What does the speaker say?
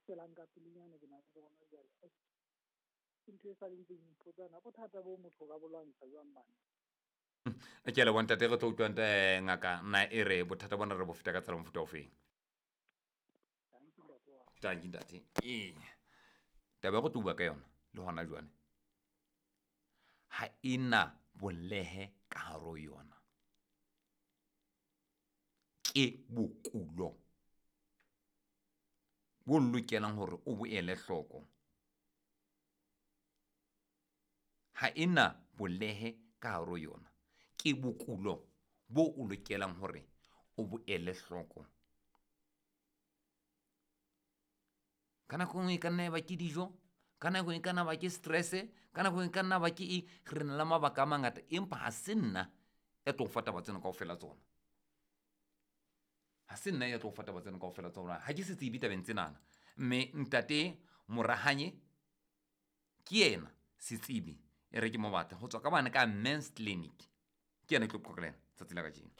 Felang ka pelenyana ke na le tsona jwale. Ke ntho e sa le ntseng ipotsa na bothata bo motho o ka bo lwantsha jwang bana. Ke a leboha ntate, re tlo utlwa ngaka na e re bothata bona re bo feta ka tsela mofuta ofeng. Tanki ntate. Ee. Taba ya go tlo bua ka yona le hona jwale ha e na bolehe ka hare ho yona. Ke bokulo bo lokelang hore o bo ele hloko. Ha e na bolehe ka hare ho yona. Ke bokulo bo o lokelang hore o bo ele hloko. Ka nako e nngwe e ka nna ya ba ke dijo, ka nako e ka nna ba ke stress, ka nako e ka nna ba ke eng. Re na le mabaka a mangata, empa ha se nna ya tlo o fa taba tsena kaofela tsona. Ha se nna ya tlo o fa taba tsena kaofela tsona. Ha ke se tsebe tabeng tsenana. Mme ntate Morahanye ke yena setsebi e re ke mo batle ho tswa ka bane ka Men's Clinic. Ke yena e tlo qoqela tsatsi la kajeno.